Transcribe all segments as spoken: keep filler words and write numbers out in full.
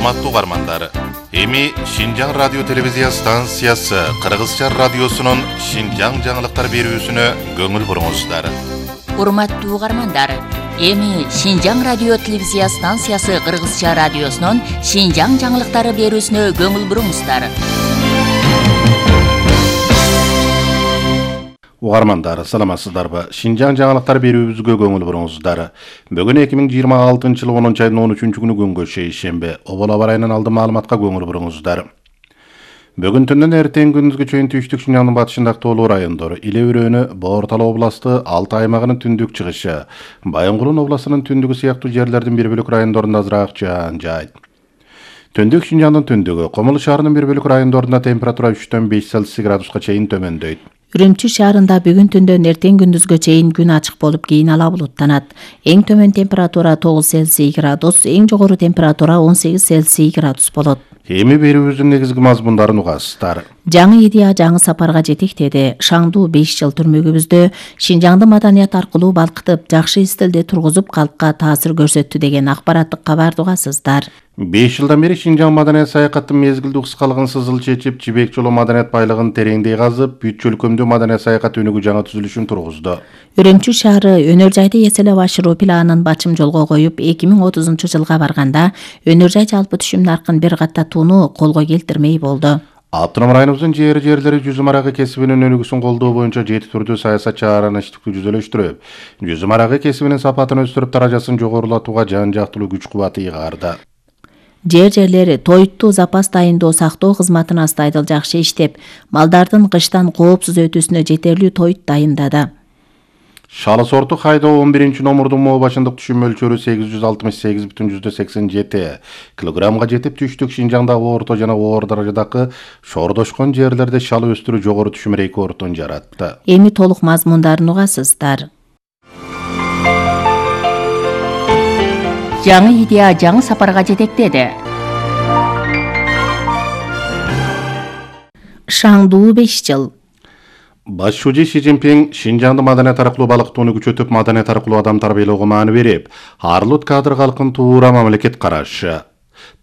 Урматтуу угармандар, эми Шинжаң радио телевизия станциясы Кыргызча радиосунун Шинжаң жаңылыктар берүүсүнө көңүл буруңуздар. Урматтуу угармандар, эми Шинжаң радио телевизия станциясы Кыргызча радиосунун Шинжаң жаңылыктары берүүсүнө көңүл буруңуздар. Угармандар, саламатсыздарбы? Шинжаң жаңылыктар берүүбүзгө көңүл буруңуздар. Бүгүн эки миң жыйырма алтынчы жылы онунчу айдын он үчүнчү күнү күнгө шейшемби. Обол аба ырайынан алды маалыматка көңүл буруңуздар. Бүгүн түндөн эртең күндүзгө чейин түштүк Шинжаңдын батышындагы тоолуу райондор, Иле Өрөөнү, Боортал областы, Алтай аймагынын түндүк чыгышы, Байынгулун областынын түндүгү сыяктуу жерлердин бир бөлүк райондорунда азыраак жаан жаайт. Түндүк Шинжаңдын түндүгү, Комул шаарынын бир бөлүк райондорунда температура үчтөн беш Цельсий градуска чейин төмөндөйт. Үрүмчү шаарында бүгүн түндөн эртең күндүзгө чейин күн ачык болуп, кийин ала булуттанат. Эң төмөн температура тогуз Цельсий градус, эң жогору температура он сегиз Цельсий градус болот. Эми берүүбүздүн негизги мазмундарын угасыздар. Жаңы идея жаңы сапарга жетектеди. Шаңдуу беш жыл түрмөгүбүздө Шинжаңды маданият аркылуу балкытып, жакшы стилде тургузуп, калкка таасир көрсөттү деген акпараттык кабарды угасыздар. беш жылдан бери Шинжаң маданият саякаттын мезгилдүү кыскалыгын сызыл чечип, Жибек жолу маданият байлыгын тереңдей казып, бүт чөлкөмдүү маданият саякат өнүгүү жаңы түзүлүшүн тургузду. Үрүмчү шаары өнөр жайды эселеп ашыруу планын бачым жолго коюп, эки миң отузунчу жылга барганда өнөр жай жалпы түшүм наркын бир катта тууну колго келтирмей болду. Автоном районубуздун жери жерлери жүзүм арагы кесибинин өнүгүүсүн колдоо боюнча жети түрдүү саясат чараланыштыкты жүзөлөштүрүп, жүзүм арагы кесибинин сапатын өстүрүп, даражасын жогорулатууга жан жактылуу күч кубаты ыйгарды. Жер жерлери тоюттуу запас дайындоо сактоо кызматын астайдыл жакшы иштеп, малдардын кыштан коопсуз өтүүсүнө жетерлүү тоют дайындады. Шалы сорту хайдоо он биринчи номурдун моо башындык түшүм мөлчөрү сегиз жүз алтымыш сегиз бүтүн жүздөн сексен жети килограммга жетип, түштүк Шинжаңдагы орто жана оор даражадагы шоордошкон жерлерде шалы өстүрүү жогору түшүм рекордун жаратты. Эми толук мазмундарын угасыздар. Жаңы идея жаңы сапарга жетектеди. Шаңдуу беш жыл. Баш шужи Си Цзиньпин Шинжаңды маданият аркылуу балкытууну күчөтүп, маданият аркылуу адам тарбиялоого мааны берип, арлут кадр калкын туура мамлекет карашы,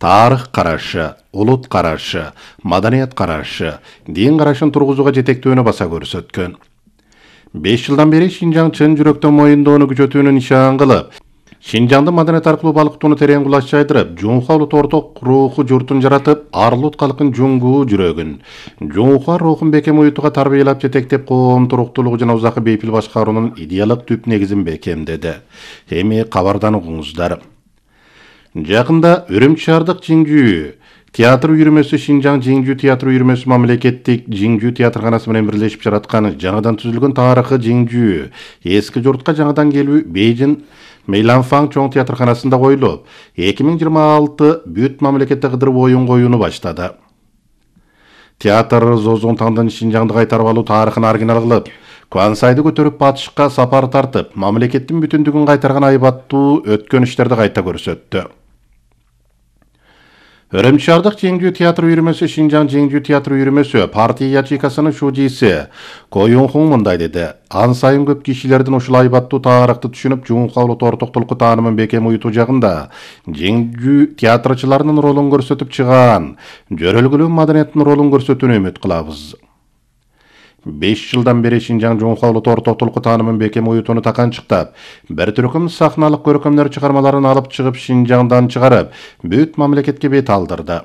тарых карашы, улут карашы, маданият карашы, дин карашын тургузууга жетектөөнү баса көрсөткөн. беш жылдан бери Шинжаң чын жүрөктөн моюндоону күчөтүүнү нишан кылып, Шинжаңды маданият аркылуу балкытууну терең кулач жайдырып, жунха улут орток руху журтун жаратып, арлут калкын жуңгуу жүрөгүн, жунха рухун бекем уютууга тарбиялап жетектеп, коом туруктуулугу жана узакы бейпил башкаруунун идеялык түп негизин бекемдеди. Эми кабардан угуңуздар. Жакында Үрүмчү шаардык Жиңжүү театр үйүрмөсү Шинжаң Жиңжүү театр үйүрмөсү мамлекеттик Жиңжүү театрканасы менен бирлешип жараткан жаңыдан түзүлгөн тарыхы Жиңжүү эски журтка жаңыдан келүү Бейжин Мейланфаң чоң театрканасында коюлуп, эки миң жыйырма алты бүт мамлекетте кыдырып оюн коюуну баштады. Театр Зозонтаңдын Шинжаңды кайтарып алуу тарыхын оригинал кылып, Квансайды көтөрүп батышка сапар тартып, мамлекеттин бүтүндүгүн кайтарган айбаттуу өткөн иштерди кайта көрсөттү. Үрүмчү шаардык Жиңжүү театр үйүрмөсү Шинжаң Жиңжүү театр үйүрмөсү партия ячейкасынын шужиси Коюн Хун мындай деди: ан сайын көп кишилердин ушул айбаттуу тарыхты түшүнүп, жунха улут ортоктулукку таанымын бекем уютуу жагында Жиңжүү театрчыларынын ролун көрсөтүп чыган, жөрөлгөлүү маданияттын ролун көрсөтүүнү үмүт кылабыз. беш жылдан бери Шинжаң жунха улут ортоктулукку таанымын бекем уютууну таканчыктап, бир түркүм сахналык көркөмдөр чыгармаларын алып чыгып, Шинжаңдан чыгарып, бүт мамлекетке бет алдырды.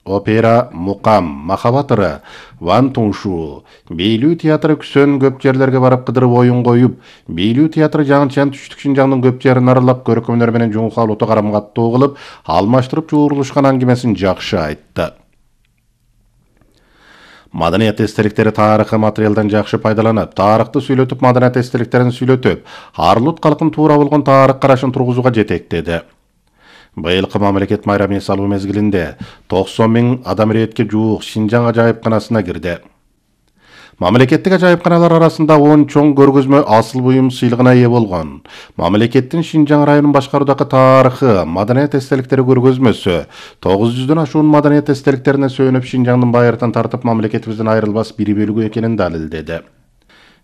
Опера, Мукам, Махабат ыры, Ван Туншу, Бийлүү театры Күсөн көп жерлерге барып кыдырып оюн коюп, Бийлүү театры жаңычан түштүк Шинжаңдын көп жерин аралап, көркөмдөр менен жунха улуту карам-каттоо кылып, алмаштырып чуурулушкан аңгемесин жакшы айтты. Маданият эстеликтери тарыхы материалдан жакшы пайдаланып, тарыхты сүйлөтүп, маданият эстеликтерин сүйлөтүп, арлут калкын туура болгон тарых карашын тургузууга жетектеди. Быйылкы мамлекет майрамын эс алуу мезгилинде токсон миң адам иретке жуук Шинжаң ажайыпканасына кирди. Мамлекеттик ажайыпканалар арасында он чоң көргөзмө асыл буюм сыйлыгына ээ болгон. Мамлекеттин Шинжаң районун башкаруудагы тарыхы, маданият эстеликтери көргөзмөсү тогуз жүздөн ашуун маданият эстеликтерине сүйөнүп, Шинжаңдын байыртан тартып мамлекетибиздин айрылбас бир бөлүгү экенин далилдеди.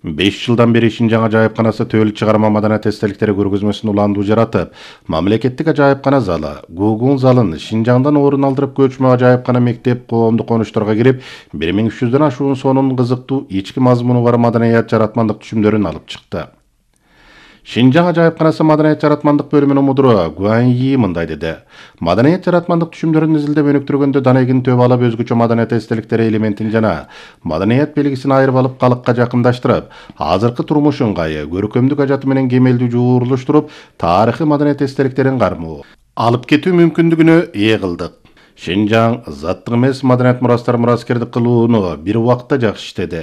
беш жылдан бери Шинжаң ажайыпканасы төл чыгарма маданият эстеликтери көргөзмөсүн уландуу жаратып, мамлекеттик ажайыпкана залы, Гугун залын Шинжаңдан орун алдырып көчмө ажайыпкана мектеп коомдук конуштарга кирип, бир миң үч жүздөн ашуун сонун кызыктуу ички мазмуну бар маданият жаратмандык түшүмдөрүн алып чыкты. Шинжаң ажайыпканасы маданият жаратмандык бөлүмүнүн мудуру Гуан Yi мындай деди. Маданият жаратмандык түшүмдөрүн изилдеп өнүктүргөндө данегин төп алып өзгөчө маданият эстеликтери элементин жана маданият белгисин айырып алып калыкка жакындаштырып, азыркы турмуш ыңгайы, көркөмдүк ажаты менен кемелдүү жуурулуштуруп, тарыхый маданият эстеликтерин кармоо алып кетүү мүмкүндүгүнө ээ кылдык. Шинжаң заттык эмес маданият мурастар мураскердик кылууну бир убакта жакшы иштеди.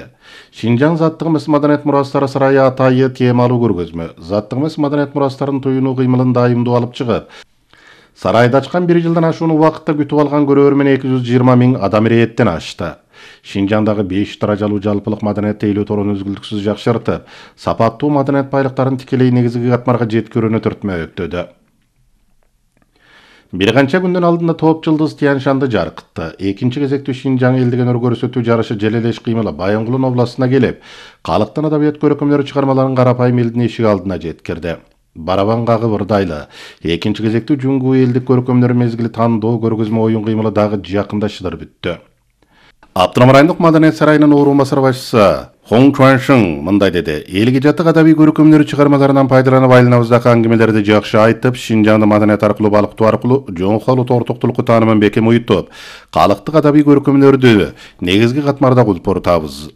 Шинжаң заттык эмес маданият мурастары сарайы атайы темалуу көргөзмө, заттык эмес маданият мурастарын туюну кыймылын дайымдуу алып чыгып, сарайда ачкан бир жылдан ашуун убакытта күтүп алган көрөрмөн эки жүз жыйырма миң адам ирээттен ашты. Шинжаңдагы беш даражалуу жалпылык маданият тейлөө торун үзгүлтүксүз жакшыртып, сапаттуу маданият байлыктарын тикелей негизги катмарга жеткирүүнү түртмөктөдү. Бир канча күндөн алдында топ жылдыз Тяньшанды жаркытты. Экинчи кезектүү Шинжаң элдик өнөр көрсөтүү жарышы Желелеш кыймылы Байынгулун областына келип, калктын адабият көркөмдөрү чыгармаларын карапайым элдин эшик алдына жеткирди. Барабан кагып ырдайлы. Экинчи кезектүү Жуңгу элдик көркөмдөр мезгили тандоо көргөзмө оюн кыймылы дагы жакында шыдыр бүттү. Автоном райондук маданият сарайынын орун басар башчысы Хong Chuansheng мындай деди. Элге жатык адабий көркөмдөр чыгармаларынан пайдаланып айланабыздагы аңгемелерди жакшы айтып, Шинжаңды маданият аркылуу балыктоо аркылуу жоңколу тортуктулукку таанымын бекем уюттуп, калктык адабий көркөмдөрдү негизги катмарда кулпуртабыз.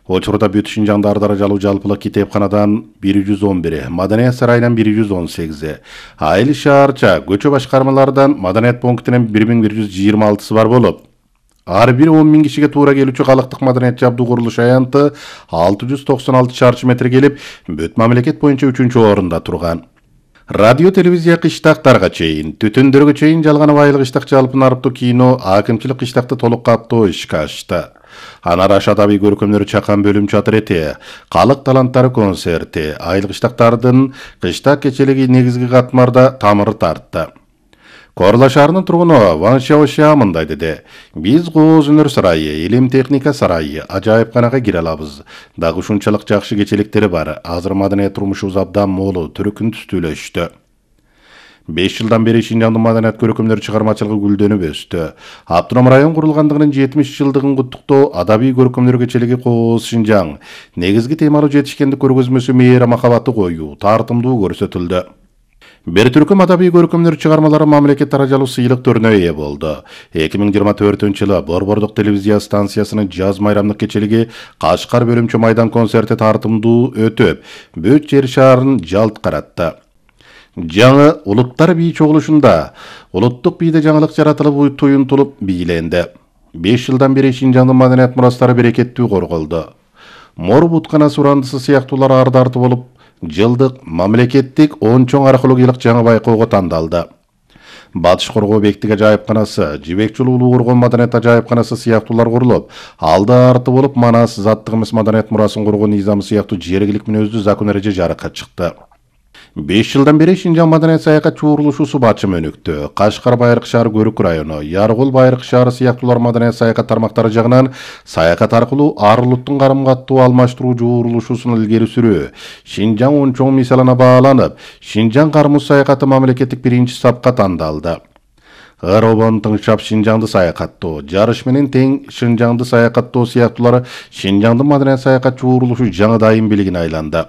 Учурда бүт Шинжаңда ар даражалуу жалпылык китепканадан бир жүз он бир, маданият сарайынан бир жүз он сегиз, айыл шаарча көчө башкармалардан маданият пунктинен бир миң бир жүз жыйырма алтысы бар болуп, ар бир он миң кишиге туура келүүчү калктык маданият жабдуу курулуш аянты алты жүз токсон алты чарчы метр келип, бүт мамлекет боюнча үчүнчү орунда турган. Радио телевизия кыштактарга чейин, түтүндөргө чейин жалганып айыл кыштак жалпын арыптуу кино, акимчилик кыштакты толук каптоо ишке ашты. Анар аша адабий көркөмдөрү чакан бөлүм чатыр эти, калык таланттары концерти, айыл кыштактардын кыштак кечелиги негизги катмарда тамыры тартты. Корла шаарынын тургуну Ван Шаошя мындай деди. Биз кооз өнөр сарайы, илим техника сарайы, ажайыпканага кире алабыз. Дагы ушунчалык жакшы кечеликтери бар. Азыр маданият турмушубуз абдан молу, түркүн түстүүлөштү. беш жылдан бери Шинжаңдын маданият көркөмдөр чыгармачылыгы гүлдөнүп өстү. Автоном район курулгандыгынын жетимиш жылдыгын куттуктоо адабий көркөмдөр кечелиги Кооз Шинжаң негизги темалуу жетишкендик көргөзмөсү мээра махабаты коюу, тартымдуу көрсөтүлдү. Бир түркүм адабий көркөмдөр чыгармалары мамлекет даражалуу сыйлыктарына ээ болду. эки миң жыйырма төртүнчү жылы Борбордук телевизия станциясынын жаз майрамдык кечелиги Кашкар бөлүмчө майдан концерти тартымдуу өтүп, бүт жер шаарын жалт каратты. Жаңы улуттар бий чогулушунда улуттук бийде жаңылык жаратылып туюнтулуп бийленди. беш жылдан бери Шинжаңдын маданият мурастары берекеттүү корголду. Мор буткана сурандысы сыяктуулар арды-арты болуп, жылдык мамлекеттик он чоң археологиялык жаңы байкоого тандалды. Батыш коргоо бектик ажайыпканасы, Жибек жолу улуу коргон маданият ажайыпканасы сыяктуулар курулуп, алды-арты болуп Манас заттык эмес маданият мурасын коргоо низамы сыяктуу жергилик мүнөздүү закон эреже жарыкка чыкты. беш жылдан бери Шинжаң маданият саякат чуурулушусу бачым өнүктү. Кашкар Байыркы шаар Көрүк району, Яргул Байыркы шаары сыяктуулар маданият саякат тармактары жагынан саякат аркылуу ар улуттун карым-каттуу алмаштыруу чуурулушусун илгери сүрүү Шинжаң он чоң мисалына бааланып, Шинжаң кармуу саякаты мамлекеттик биринчи сапка тандалды. Ыр обон тыңшап Шинжаңды саякаттоо, жарыш менен тең Шинжаңды саякаттоо сыяктуулары Шинжаңдын маданият саякат чуурулушу жаңы дайым билигине айланды.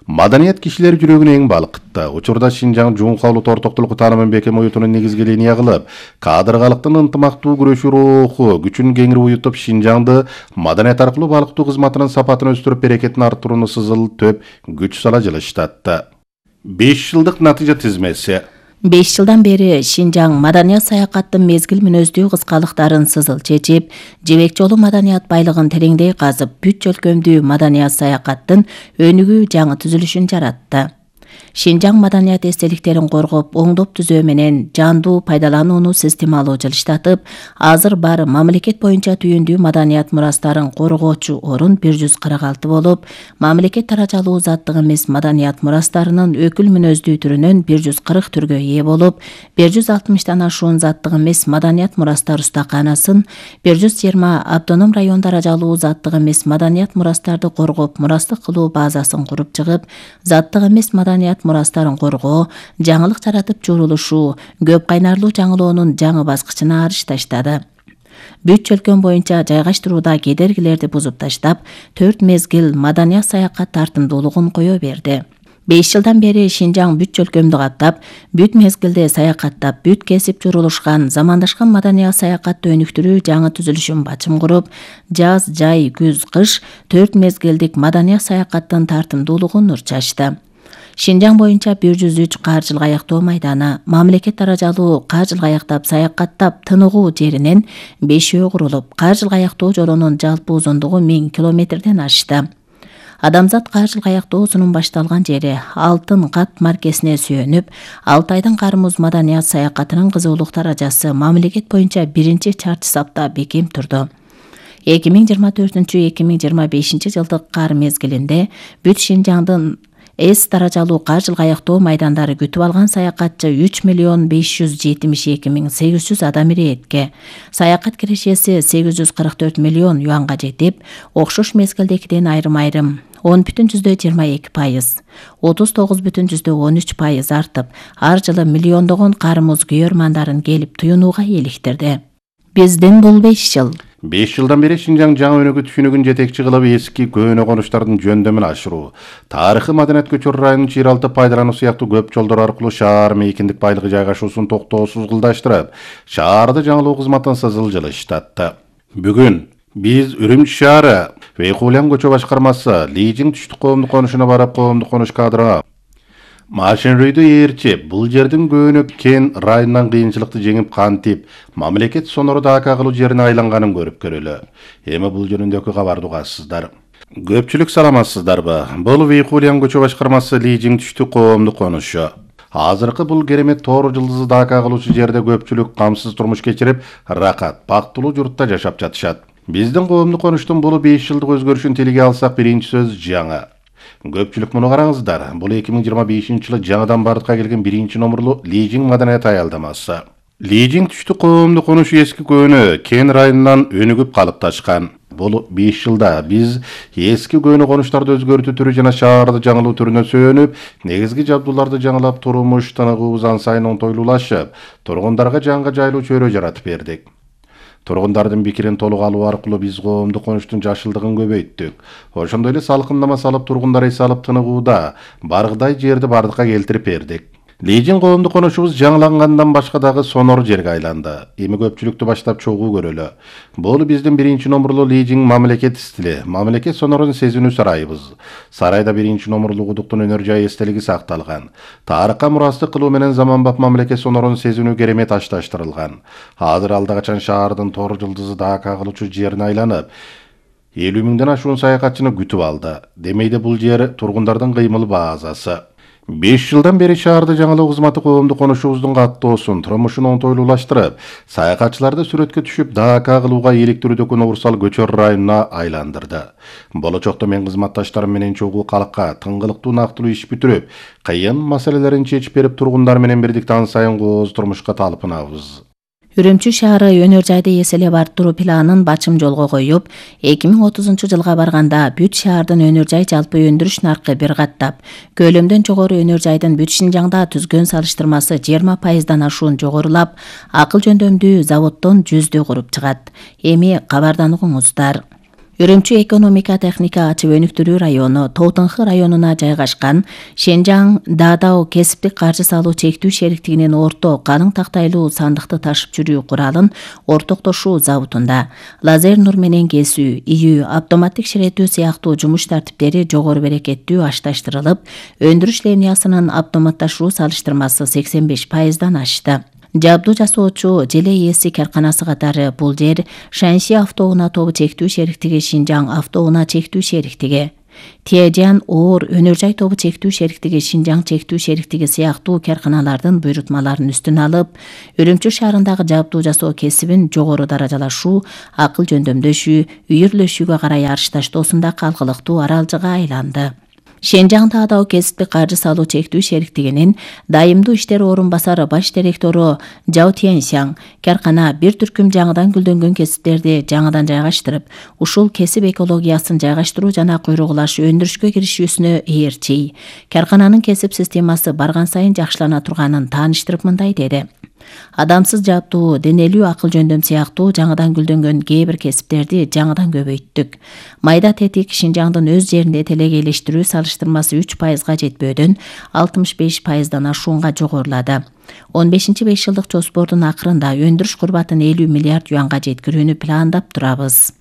Маданият кишилер жүрөгүнө эң балкытты. Учурда Шинжаң жоңколу тортуктулукку таанымын бекем уютунун негизги линия кылып, кадыр-калктын ынтымактуу күрөшүү руху күчүн кеңири уютуп, Шинжаңды маданият аркылуу балыктоо кызматынын сапатын өстүрүп, берекетин арттырууну сызыл төп күч сала жылыштатты. беш жылдык натыйжа тизмеси. беш жылдан бери Шинжаң маданият саякаттын мезгил мүнөздүү кыскалыктарын сызыл чечип, Жибек жолу маданият байлыгын тереңдей казып, бүт чөлкөмдүү маданият саякаттын өнүгүү жаңы түзүлүшүн жаратты. Шинжаң маданият эстеликтерин коргоп, оңдоп түзөө менен жандуу пайдаланууну системалуу жылыштатып, азыр бар мамлекет боюнча түйүндүү маданият мурастарын коргоочу орун бир жүз кырк алты болуп, мамлекет даражалуу заттык эмес маданият мурастарынын өкүл мүнөздүү түрүнөн бир жүз кырк түргө ээ болуп, бир жүз алтымыштан ашуун заттык эмес маданият мурастар устаканасын, бир жүз жыйырма автоном район даражалуу заттык эмес маданият мурастарды коргоп, мурастык кылуу базасын куруп чыгып, заттык эмес маданият мурастарын коргоо, жаңылык жаратып журулушуу, көп кайнарлуу жаңылоонун жаңы баскычына арыш таштады. Бүт чөлкөн боюнча жайгаштырууда кедергилерди бузуп таштап, төрт мезгил маданият саякат тартымдуулугун кое берди. беш жылдан бери Шинжаң бүт чөлкөмдү каптап, бүт мезгилде саякаттап, бүт кесип журулушкан, замандашкан маданият саякатты өнүктүрүү жаңы түзүлүшүн бачым куруп, жаз, жай, күз, кыш төрт мезгилдик маданият саякаттын тартымдуулугун нур чачты. Шинжаң боюнча бир жүз үч кар жылгы аяктоо майданы, мамлекет даражалуу кар жылгы аяктап саякаттап тыныгуу жеринен бешөө курулуп, кар жылгы аяктоо жолунун жалпы узундугу миң километрден ашты. Адамзат кар жылгы аяктоосунун башталган жери Алтын кат маркесине сүйөнүп, Алтайдын Кармуз маданият саякатынын кызуулук даражасы мамлекет боюнча биринчи чарчы сапта бекем турду. эки миң жыйырма төртүнчү эки миң жыйырма бешинчи жылдык кар мезгилинде бүт Шинжаңдын С даражалуу кар жылгы аяктоо майдандары күтүп алган саякатчы үч миллион беш жүз жетимиш эки миң сегиз жүз адам иретке. Саякат кирешеси сегиз жүз кырк төрт миллион юанга жетип, окшош мезгилдекиден айрым-айрым он бүтүн жүздө жыйырма эки пайыз, отуз тогуз бүтүн жүздө он үч пайыз артып, ар жылы миллиондогон Кармуз күйөрмандарын келип туюнууга иликтирди. Биздин бул беш жыл. беш жылдан бери Шинжаң жаңы өнүгүү түшүнүгүн жетекчи кылып эски көөнө конуштардын жөндөмүн ашыруу, тарыхый маданият көчөр районун жер алты пайдалануу сыяктуу көп жолдор аркылуу шаар мейкиндик байлыгы жайгашуусун токтоосуз кылдаштырып, шаарды жаңылоо кызматынсыз жылыштатты. Бүгүн биз Үрүмчү шаары Вейкулан көчө башкармасы Лижиң түштүк коомдук конушуна барып, коомдук конуш кадрына машинрүйдү ээрчип, бул жердин көөнө кен районунан кыйынчылыкты жеңип кантип, мамлекет сонору дака кылуу жерине айланганын көрүп көрөлү. Эми бул жөнүндөгү кабарды угасыздар. Көпчүлүк саламатсыздарбы? Бул Вейкулан көчө башкармасы Лижиң түштүк коомдук конушу. Азыркы бул керемет тоор жылдызы дака кылуучу жерде көпчүлүк камсыз турмуш кечирип, ракат, бактылуу журтта жашап жатышат. Биздин коомдук конуштун бул беш жылдык өзгөрүшүн тилге алсак, биринчи сөз жаңы. Көпчүлүк муну караңыздар. Бул эки миң жыйырма бешинчи жылы жаңыдан бардыкка келген биринчи номерлуу Лижиң маданият аялдамасы. Лижиң түштүк коомдук конушу эски көөнө кен районунан өнүгүп калыпташкан. Бул беш жылда биз эски көөнө конуштарды өзгөртүү түрү жана шаарды жаңылоо түрүнө сөөнүп, негизги жабдууларды жаңылап, турмуш тыныгыбыз ан сайын онтойлуулашып, тургундарга жаңга жайлуу чөйрө жаратып бердик. Тургундардын пикирин толук алуу аркылуу биз коомдук конуштун жашылдыгын көбөйттүк. Ошондой эле салкындама салып, тургундар эс алып тыныгууда баргыдай жерди бардыкка келтирип бердик. Лижиң коомдук конушубуз жаңылангандан башка дагы сонор жерге айланды. Эми көпчүлүктү баштап чогуу көрөлү. Бул биздин биринчи номерлуу Лижиң мамлекет стили, мамлекет сонорун сезинүү сарайыбыз. Сарайда биринчи номерлуу кудуктун өнөр жай эстелиги сакталган. Тарыхка мурастык кылуу менен заманбап мамлекет сонорун сезинүү керемет ташташтырылган. Азыр алда качан шаардын тоор жылдызы дака кылуучу жерине айланып, элүү миңден ашуун саякатчыны күтүп алды. Демейде бул жер тургундардын кыймыл базасы. беш жылдан бери шаарды жаңылоо кызматы коомдук конушубуздун каттоосун, турмушун онтойлуулаштырып, саякатчыларды сүрөткө түшүп, дака кылууга иликтирүүдөгү Нурсал көчөр районуна айландырды. Болочокто мен кызматташтарым менен чогуу калкка тыңгылыктуу нактылуу иш бүтүрүп, кыйын маселелерин чечип берип, тургундар менен бирдикте ан сайын кооз турмушка талпынабыз. Үрүмчү шаары өнөр жайды эселеп арттыруу планын бачым жолго коюп, эки миң отузунчу жылга барганда бүт шаардын өнөр жай жалпы өндүрүш наркы бир каттап, көлөмдөн жогору өнөр жайдын бүт Шинжаңда түзгөн салыштырмасы жыйырма пайыздан ашуун жогорулап, акыл жөндөмдүү заводдон жүздө куруп чыгат. Эми кабардануңуздар. Үрүмчү экономика техника ачып өнүктүрүү району Тоотонхы районуна жайгашкан Шинжаң Дадао кесиптик каржы салуу чектүү шериктигинин орто калың тактайлуу сандыкты ташып жүрүү куралын ортоктошуу заводунда лазер нур менен кесүү, ийүү, автоматтик ширетүү сыяктуу жумуш тартиптери жогору берекеттүү ашташтырылып, өндүрүш линиясынын автоматташуу салыштырмасы сексен беш пайыздан ашты. Жабдуу жасоочу желе ээси карканасы катары бул жер Шанси автоунаа тобу чектүү шериктиги, Шинжаң автоунаа чектүү шериктиги, Тиежан, оор, өнөр жай тобу чектүү шериктиги, Шинжаң чектүү шериктиги сыяктуу карканалардын буйрутмаларын үстүнө алып, Үрүмчү шаарындагы жабдуу жасоо кесибин жогору даражалашуу, акыл жөндөмдөшүү, үйүрлөшүүгө карай арышташтоосунда калкылыктуу аралжыга айланды. Шинжаң таадау кесипти каржы салуу чектүү шериктигинин дайымдуу иштер орун басары баш директору Жао Тяньсяң каркана бир түркүм жаңыдан гүлдөнгөн кесиптерди жаңыдан жайгаштырып, ушул кесип экологиясын жайгаштыруу жана куйругулаш өндүрүшкө киришүүсүнө ээрчий. Каркананын кесип системасы барган сайын жакшылана турганын тааныштырып мындай деди. Адамсыз жабдуу, денелүү акыл жөндөм сыяктуу жаңыдан гүлдөнгөн кээ бир кесиптерди жаңыдан көбөйттүк. Майда тетик Шинжаңдын өз жеринде телегейлештирүү салыштырмасы үч пайызга жетпөөдөн алтымыш беш пайыздан ашуунга жогорулады. он бешинчи беш жылдык жоспордун акырында өндүрүш курбатын элүү миллиард юанга жеткирүүнү пландап турабыз.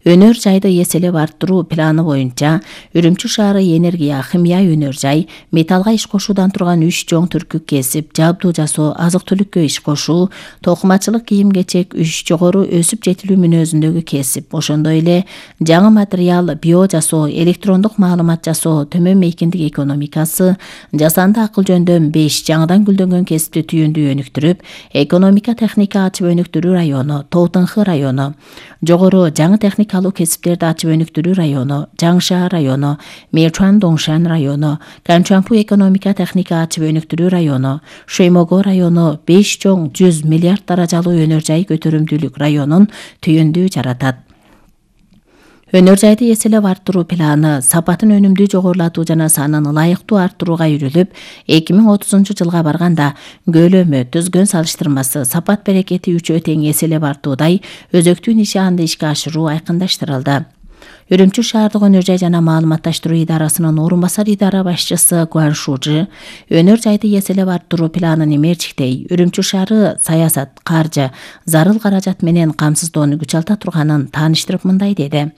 Өнөр жайды эселеп арттыруу планы боюнча Үрүмчү шаары энергия, химия өнөр жай, металлга иш кошуудан турган үч жоң түркүк кесип, жабдуу жасоо, азык-түлүккө иш кошуу, токумачылык, кийим-кечек, үч жогору өсүп жетилүү мүнөзүндөгү кесип, ошондой эле жаңы материал, био жасоо, электрондук маалымат жасоо, төмөн мейкиндик экономикасы, жасанды акыл жөндөм беш жаңыдан гүлдөнгөн кесипти түйүндүү өнүктүрүп, экономика техника ачып өнүктүрүү району, Тоотынхы району, жогору жаңы техника алуу кесиптерди ачып өнүктүрүү району, Жаңша району, Мечуан Доңшан району, Канчуанпу экономика техника ачып өнүктүрүү району, Шоймого району беш жоң жүз миллиард даражалуу өнөр жай көтөрүмдүүлүк районун түйүндүү жаратат. Өнөр жайды эселеп арттыруу планы сапатын өнүмдүү жогорулатуу жана санын ылайыктуу арттырууга үйрүлүп, эки миң отузунчу жылга барганда көлөмү, түзгөн салыштырмасы, сапат берекети үчөө тең эселеп артуудай өзөктүү нишаанды ишке ашыруу айкындаштырылды. Үрүмчү шаардык өнөр жай жана маалыматташтыруу идарасынын орун басар идара башчысы Гуан Шужи өнөр жайды эселеп арттыруу планын эмерчиктей, Үрүмчү шаары саясат, каржы, зарыл каражат менен камсыздоону күч алта турганын тааныштырып мындай деди.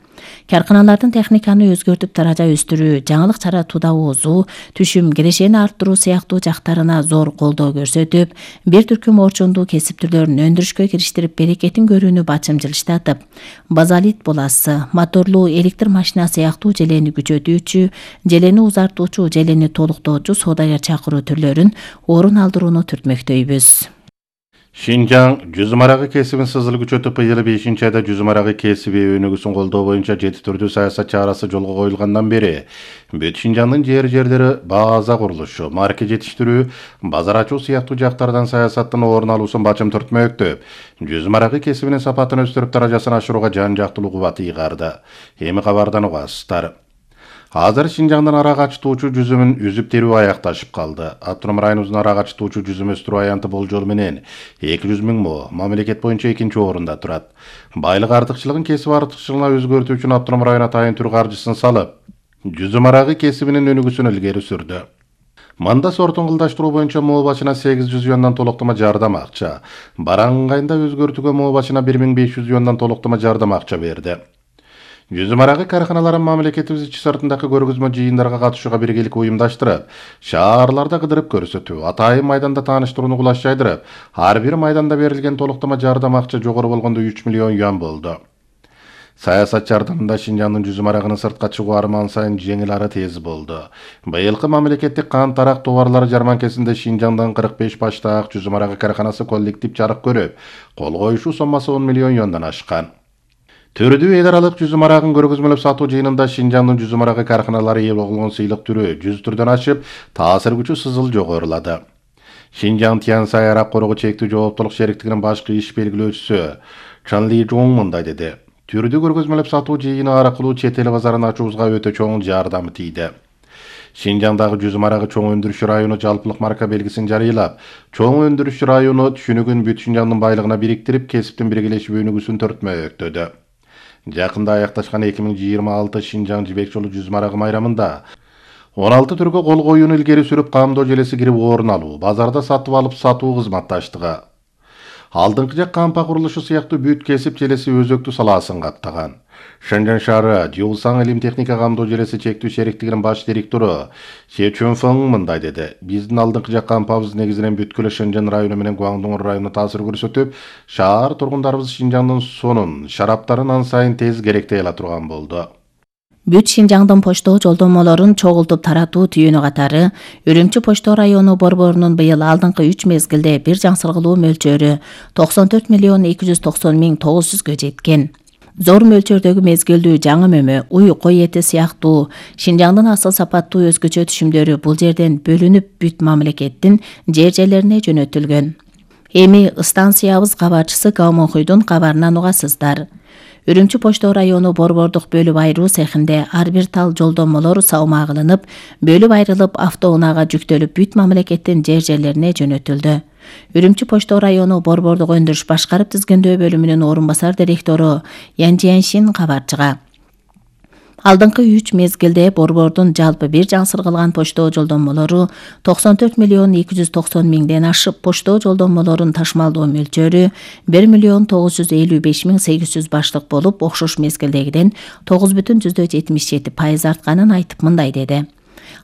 Карканалардын техниканы өзгөртүп даража өстүрүү, жаңылык чаратууда оозуу, түшүм, кирешени арттыруу сыяктуу жактарына зор колдоо көрсөтүп, бир түркүм орчундуу кесип түрлөрүн өндүрүшкө кириштирип, берекетин көрүүнү бачымчылыштатып, базалит буласы, моторлуу электр машина сыяктуу желени күчөтүүчү, желени узартуучу, желени толуктоочу соодагер чакыруу түрлөрүн орун алдырууну түртмөктөйбүз. Шинжаң жүзүм арагы кесибин сызыл күчөтүп, быйыл бешинчи айда жүзүм арагы кесиби өнүгүүсүн колдоо боюнча жети түрдүү саясат чарасы жолго коюлгандан бери бүт Шинжаңдын жер жерлери база курулушу, марке жетиштирүү, базар ачуу сыяктуу жактардан саясаттын орун алуусун бачым түртмөктөп, жүзүм арагы кесибинин сапатын өстүрүп даражасын ашырууга жан жактылуу кубат ыйгарды. Эми кабардан угасыздар. Азыр Шинжаңдын арак ачтуучу жүзүмүн үзүп терүү аякташып калды. Автоном районубуздун арак ачтуучу жүзүм өстүрүү аянты болжол менен эки жүз миң мо мамлекет боюнча экинчи орунда турат. Байлык артыкчылыгын кесип артыкчылыгына өзгөртүү үчүн автоном район атайын түр каржысын салып, жүзүм арагы кесибинин өнүгүүсүн илгери сүрдү. Мында сортун кылдаштыруу боюнча мо башына сегиз жүз юандан толуктама жардам акча, баран ыңгайында өзгөртүүгө мо башына бир миң беш жүз юандан толуктама жардам акча берди. Жүзүм арагы карканаларын мамлекетибиз ичи сыртындагы көргөзмө жыйындарга катышууга биргелик уюмдаштырып, шаарларда кыдырып көрсөтүү, атайын майданда тааныштырууну кулаш жайдырып, ар бир майданда берилген толуктама жардам акча жогору болгондо үч миллион юан болду. Саясат жардамында Шинжаңдын жүзүм арагынын сыртка чыгуу арман сайын жеңил ары тез болду. Быйылкы мамлекеттик кант арак товарлары жарманкесинде Шинжаңдын кырк беш баштаак жүзүм арагы карканасы коллектив жарык көрүп, кол коюшу соммасы он миллион юандан ашкан. Түрдүү эл аралык жүзүм арагын көргөзмөлөп сатуу жыйынында Шинжаңдын жүзүм арагы карканалары ээ болгон сыйлык түрү жүз түрдөн ашып, таасир күчү сызыл жогорулады. Шинжаң Тяньсай арак коргоо чектүү жооптулук шериктигинин башкы иш белгилөөчүсү Чан Ли Жон мындай деди. Түрдүү көргөзмөлөп сатуу жыйыны аркылуу чет эл базарын ачуубузга өтө чоң жардамы тийди. Шинжаңдагы жүзүм арагы чоң өндүрүшчү району жалпылык марка белгисин жарыйлап, чоң өндүрүшчү району түшүнүгүн бүт Шинжаңдын байлыгына бириктирип, кесиптин биргелешип өнүгүүсүн төртмөктөдү. Жакында аякташкан эки миң жыйырма алты Шинжаң жибек жолу жүзүм арагы майрамында он алты түргө кол коюуну илгери сүрүп, камдоо желеси кирип орун алуу, базарда сатып алып сатуу кызматташтыгы, алдыңкы жак кампа курулушу сыяктуу бүт кесип желеси өзөктүү салаасын каптаган. Шэньчжэн шаары Жиусаң илим техника камдоо желеси чектүү шериктигинин баш директору Се Чунфeng мындай деди. Биздин алдыңкы жак кампабыз негизинен бүткүл Шэньчжэн району менен Гуандоң районуна таасир көрсөтүп, шаар тургундарыбыз Шинжаңдын сонун, шараптарын ан сайын тез керектей ала турган болду. бүт Шинжаңдын почто жолдомолорун чогултуп таратуу түйүнү катары Үрүмчү почто району борборунун быйыл алдыңкы үч мезгилде бир жаңсыргылуу мөлчөрү токсон төрт миллион эки жүз токсон миң тогуз жүзгө жеткен. Зор мөлчөрдөгү мезгилдүү жаңы мөмө, уй, кой эти сыяктуу Шинжаңдын асыл сапаттуу өзгөчө түшүмдөрү бул жерден бөлүнүп бүт мамлекеттин жер жерлерине жөнөтүлгөн. Эми станциябыз кабарчысы Гаумохуйдун кабарынан угасыздар. Үрүмчү почто району борбордук бөлүп айыруу цехинде ар бир тал жолдомолор салмагыланып, бөлүп айрылып автоунаага жүктөлүп бүт мамлекеттин жер жерлерине жөнөтүлдү. Үрүмчү почто району борбордук өндүрүш башкарып тизгиндөө бөлүмүнүн орун басар директору Янжияншин кабарчыга алдыңкы үч мезгилде борбордун жалпы бир жаңсыргылган почто жолдомолору токсон төрт миллион эки жүз токсон миңден ашып, почто жолдомолорун ташмалдоо мөлчөрү бир миллион тогуз жүз элүү беш миң сегиз жүз баштык болуп, окшош мезгилдегиден тогуз бүтүн жүздөн жетимиш жети пайыз артканын айтып мындай деди.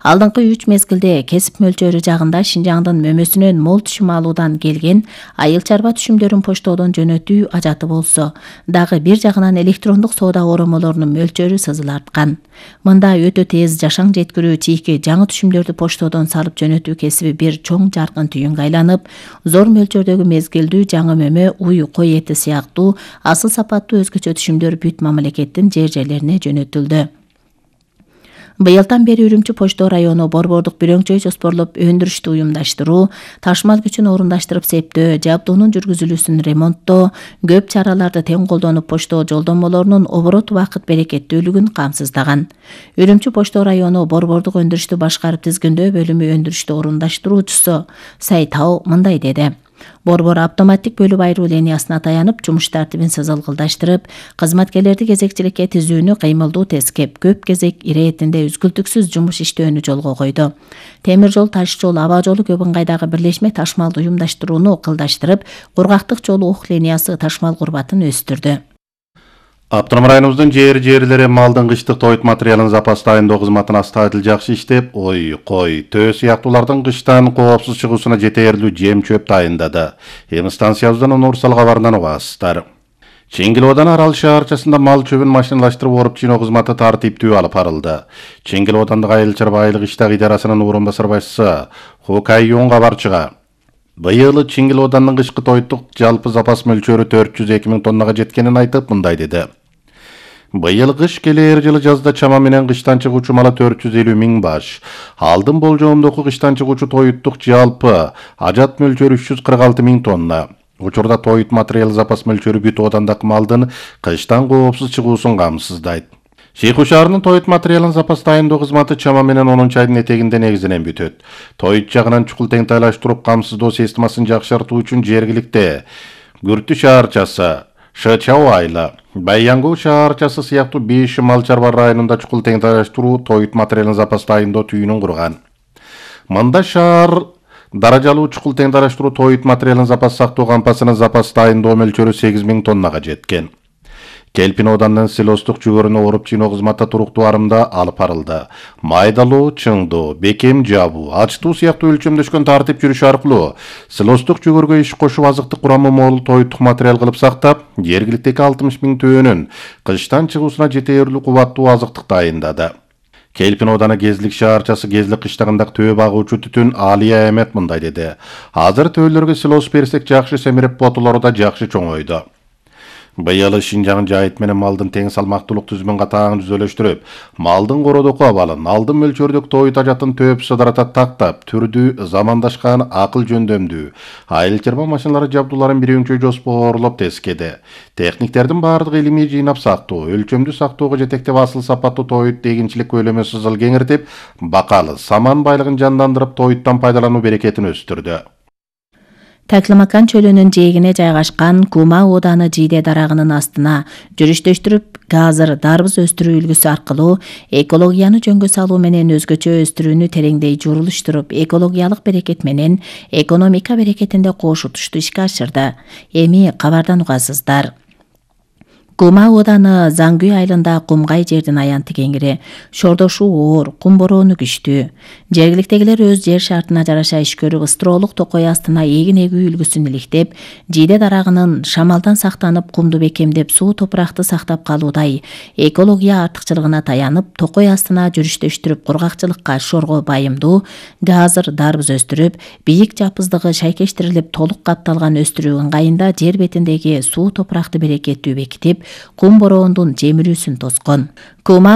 Алдыңкы үч мезгилде кесип мөлчөрү жагында Шинжаңдын мөмөсүнөн мол түшүм алуудан келген айыл чарба түшүмдөрүн поштодон жөнөтүү ажаты болсо, дагы бир жагынан электрондук соода оромолорунун мөлчөрү сызыл арткан. Мында өтө тез жашаң жеткирүү чийки жаңы түшүмдөрдү поштодон салып жөнөтүү кесиби бир чоң жаркын түйүнгө айланып, зор мөлчөрдөгү мезгилдүү жаңы мөмө, уй, кой эти сыяктуу асыл сапаттуу өзгөчө түшүмдөр бүт мамлекеттин жер жерлерине жөнөтүлдү. Быйылдан бери Үрүмчү почто району борбордук бирөңчөй жоспорлоп өндүрүштү уюмдаштыруу, ташмал күчүн орундаштырып септөө, жабдуунун жүргүзүлүүсүн ремонттоо, көп чараларды тең колдонуп почто жолдомолорунун оборот убакыт берекеттүүлүгүн камсыздаган. Үрүмчү почто району борбордук өндүрүштү башкарып тизгиндөө бөлүмү өндүрүштү орундашыруучусу Сайтау мындай деди. Борбор автоматтик бөлүп айыруу линиясына таянып, жумуш тартибин сызылгылдаштырып, кызматкерлерди кезекчиликке тизүүнү кыймылдуу тескеп, көп кезек иретинде үзгүлтүксүз жумуш иштөөнү жолго койду. Темир жол, таш жол, аба жолу көп ыңгайдагы бирлешме ташмалды уюмдаштырууну ыкылдаштырып, кургактык жолу ук линиясы ташмал курбатын өстүрдү. Автоном районубуздун жер жерлери малдын кыштык тоют материалын запас дайындоо кызматын астайдыл жакшы иштеп, ой, кой, төө сыяктуулардын кыштан коопсуз чыгуусуна жетээрлүү жем чөп дайындады. Эми станциябыздан Нурсал кабарынан угасыздар. Чеңгилоодан Арал шаарчасында мал чөбүн машиналаштырып оруп жыйноо кызматы тартиптүү алып барылды. Чеңгилоодандык айыл чарба айылык иштак идарасынын орун басар башчысы Хокайюн кабарчыга быйыл Чеңгилоодандын кышкы тоюттук жалпы запас мөлчөрү төрт жүз эки миң тоннага жеткенин айтып мындай деди. Быйыл кыш келер жылы жазда чама менен кыштан чыгуучу малы төрт жүз элүү миң баш. Алдын болжоомдогу кыштан чыгуучу тоюттук жалпы ажат мөлчөрү үч жүз кырк алты миң тонна. Учурда тоют материал запас мөлчөрү бүт оодандагы малдын кыштан коопсуз чыгуусун камсыздайт. Шейху шаарынын тоют материалын запас дайындоо кызматы чама менен онунчу айдын этегинде негизинен бүтөт. Тоют жагынан чукул теңтайлаштырып камсыздоо системасын жакшыртуу үчүн жергиликте Күртү шаарчасы, Шычау айылы, Байянгул шаарчасы сыяктуу беш мал чарба районунда чукул теңтайлаштыруу тоют материалын запас дайындоо түйүнүн курган. Мында шаар даражалуу чукул теңтайлаштыруу тоют материалын запас сактоо кампасынын запас дайындоо мөлчөрү сегиз миң тоннага жеткен. Келпин оданын силостук жүгөрүнө оруп жыйноо кызматы туруктуу арымда алып барылды. Майдалуу, чыңдоо, бекем жабуу, ачтуу сыяктуу өлчөмдөшкөн тартип жүрүш аркылуу силостук жүгөргө иш кошуп азыктык курамы мол тоюттук материал кылып сактап, жергиликтеги алтымыш миң төөнүн кыштан чыгуусуна жетээрлүү кубаттуу азыктык дайындады. Келпин ооданы Кезлик шаарчасы Кезлик кыштагындагы төө багуучу түтүн Алия Эмет мындай деди. Азыр төөлөргө силос берсек жакшы семирип, ботулары да жакшы чоңойду. Быйыл Шинжаң жайыт менен малдын тең салмактуулук түзүмүн катаң түзөлөштүрүп, малдын кородоку абалын, алдын мөлчөрдүк тоют ажатын төп сыдырата тактап, түрдүү, замандашкан, акыл жөндөмдүү, айыл чарба машиналары жабдууларын бирөңчөй жоспорлоп тескеди. Техниктердин баардыгы илимий жыйнап сактоо, өлчөмдүү сактоого жетектеп асыл сапаттуу тоют эгинчилик көлөмү сызыл кеңиртип, бакалы, саман байлыгын жандандырып, тоюттан пайдалануу берекетин өстүрдү. Таклимакан чөлүнүн жээгине жайгашкан Кума ооданы Жийде дарагынын астына жүрүштөштүрүп, газыр дарбыз өстүрүү үлгүсү аркылуу экологияны жөнгө салуу менен өзгөчө өстүрүүнү тереңдей журулуштуруп, экологиялык берекет менен экономика берекетинде кош утушту ишке ашырды. Эми кабардан угасыздар. Кума ооданы Заңгүй айылында кумгай жердин аянты кеңири, шордошу оор, кум бороону күчтүү. Жергиликтегилер өз жер шартына жараша иш көрүп, ыстроолук токой астына эгин эгүү үлгүсүн иликтеп, жийде дарагынын шамалдан сактанып, кумду бекемдеп, суу топуракты сактап калуудай экология артыкчылыгына таянып, токой астына жүрүштөштүрүп, кургакчылыкка шорго байымдуу газыр дарбыз өстүрүп, бийик жапыздыгы шайкештирилип, толук капталган өстүрүү ыңгайында жер бетиндеги суу топуракты берекеттүү бекитип, кум бороондун жемирүүсүн тоскон. Кума